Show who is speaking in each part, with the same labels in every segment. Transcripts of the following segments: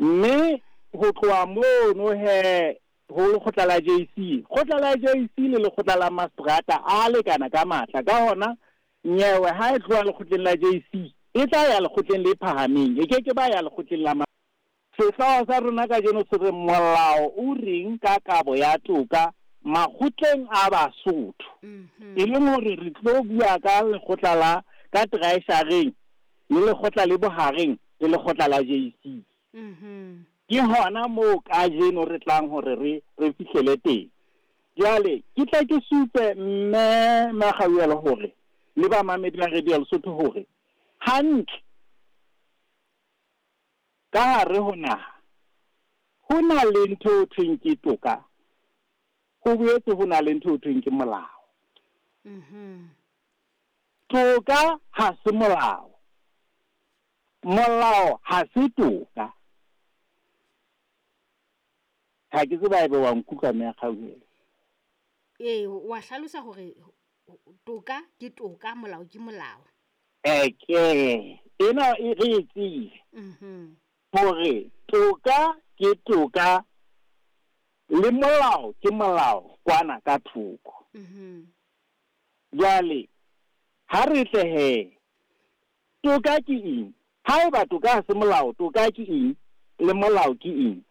Speaker 1: Mme ho tloha mono he ho lekgotla la JC, kgotla la JC le lekgotla la mastrata a lekana ka matla. Ka hona nyewe ha e tloha lekgotleng la JC e tla ya lekgotleng le phahameng, e ke ke ba ya lekgotleng la. Sehlooho sa rona kajeno se re molao o reng ka kabo ya toka makgotleng a Basotho. E leng hore re tlo bua ka lekgotla la ka traeshareng le lekgotla le bohareng le lekgotla la JC. Ke hona moo kajeno re tlang hore re fihlele teng. Jwale ke tla ke supe mme Makgauelo hore le ba mamedi ba Radio Lesotho hore hantle ka hare ho naha ho na le ntho e thweng ke toka, ho boetse ho na le ntho e thweng ke molao. Toka ha se molao, molao ha se toka. Ha ke tseba ebe wa nkutlwa mme Kgauhelo.
Speaker 2: Ee, wa hlalosa hore toka ke toka, molao ke molao.
Speaker 1: Eke ena e re e tsebe hore toka ke toka le molao ke molao kwana ka thoko. Jwale ha re tle he, toka ke eng? Haeba toka ha se molao, toka ke eng le molao ke eng?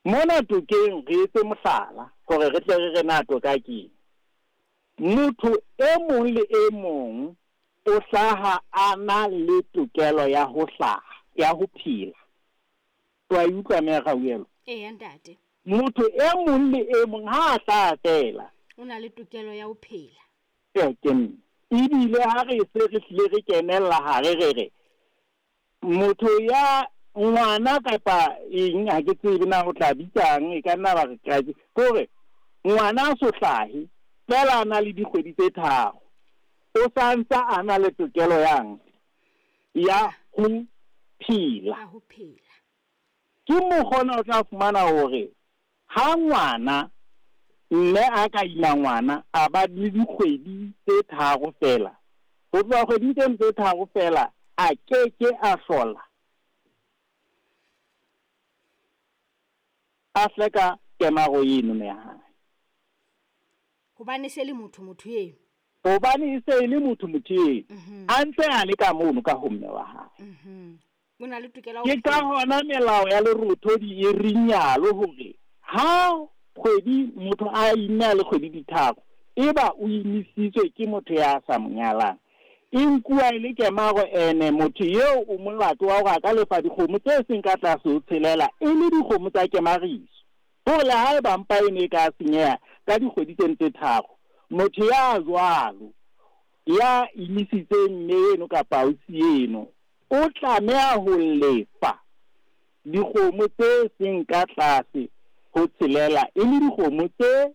Speaker 1: Mona tokeng re etse mohlala hore re tle re re na toka ke eng. Motho e mong le e mong o hlaha a na le tokelo ya ho hlaha, ya ho phela. Wa e utlwa mme Kgauhelo?
Speaker 2: Eya ntate.
Speaker 1: Motho e mong le e mong ha a hlaha feela
Speaker 2: o na le tokelo ya ho phela.
Speaker 1: Ke mme. Ebile ha re se re hlile re kenella hare re re motho ya ngwana kapa eng, ha ke tsebe na o tla bitsang, e ka nna ba re ke hore ngwana a so hlahe fela a na le dikgwedi tse 3, o sa ntsa a na le tokelo yang ya ho phela.
Speaker 2: Ya ho phela.
Speaker 1: Ke mokgona o tla fumana hore ha ngwana mme a ka ima ngwana a ba le dikgwedi tse 3 fela, ho tloha kgweding tse 3 fela a ke ke a hlola a hleka kemaro eno ya hae.
Speaker 2: Hobane se le motho motho eno.
Speaker 1: Hobane e se e le motho motho eno. A ntse a le ka mono ka ho mme wa hae.
Speaker 2: O na le tokelo
Speaker 1: Ke ka hona melao ya lerothodi e rinyalo hore ha kgwedi motho a imme a le kgwedi di 3, eba o imisitswe ke motho ya sa mo nyalang, e nkuwa e le kemaro, ene motho eo o molato wa hore a ka lefa dikgomo tse seng ka tlase ho tshelela e le dikgomo tsa kemariso. Hore le haeba mpa e ne e ka senyeha ka dikgwedi tse 3, motho ya jwalo ya imisitseng mme eno kapa ausi eno o tlameha ho lefa dikgomo tse seng ka tlase ho tshelela e le dikgomo tse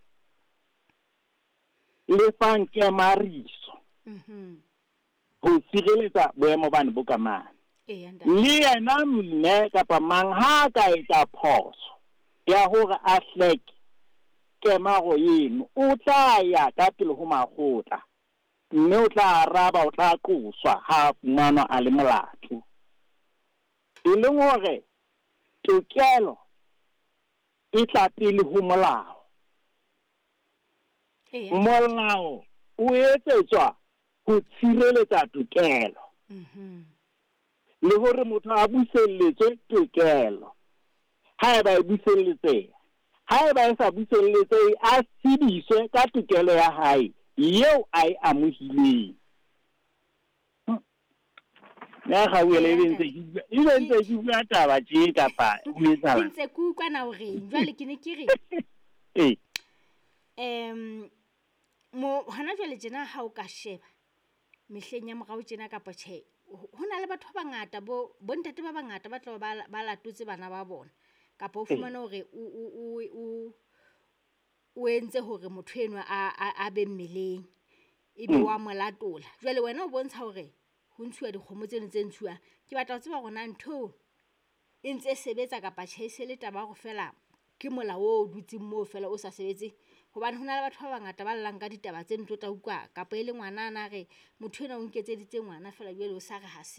Speaker 1: lefang kemariso ho sireletsa boemo bane bo ka mane. Le yena mme kapa mang ha ka etsa phoso ya hore a hleke kemaro eno, o tla ya ka pele ho makgotla mme o tla araba, o tla qoswa ha fumanwa a le molato. E leng hore tokelo e tla pele ho molao. Molao o etsetswa ho tshireletsa tokelo. Le hore motho a buselletswe tokelo. Haeba e buselletseha, haeba e sa buselletsehe, a tsebiswe ka tokelo ya hae eo a e amohileng. Ya Kgauhelo e ntse ke bua taba tje kapa ho etsahala?
Speaker 2: Ke ntse ke utlwa na hore jwale ke ne ke re mo hona jwale tjena ha o ka sheba mehleng ya morao tjena kapa tjhe, ho na le batho ba bangata bo ntate ba bangata ba tla ba latotse bana ba bona, kapa o fumane hore o entse hore motho enwa a be mmeleng ebe wa mo latola. Jwale wena o bontsha hore ho ntshuwa dikgomo tseno tse ntshuwang. Ke batla ho tseba hore na ntho e ntse sebetsa kapa tjhe, e se le taba ya hore fela ke molao o dutseng moo fela o sa sebetse. Hobane ho na le batho ba bangata ba llang ka ditaba tse ntlo tla utlwa kapa e le ngwana a na re motho enwa o nketseditse ngwana fela jwale o sa re ha se.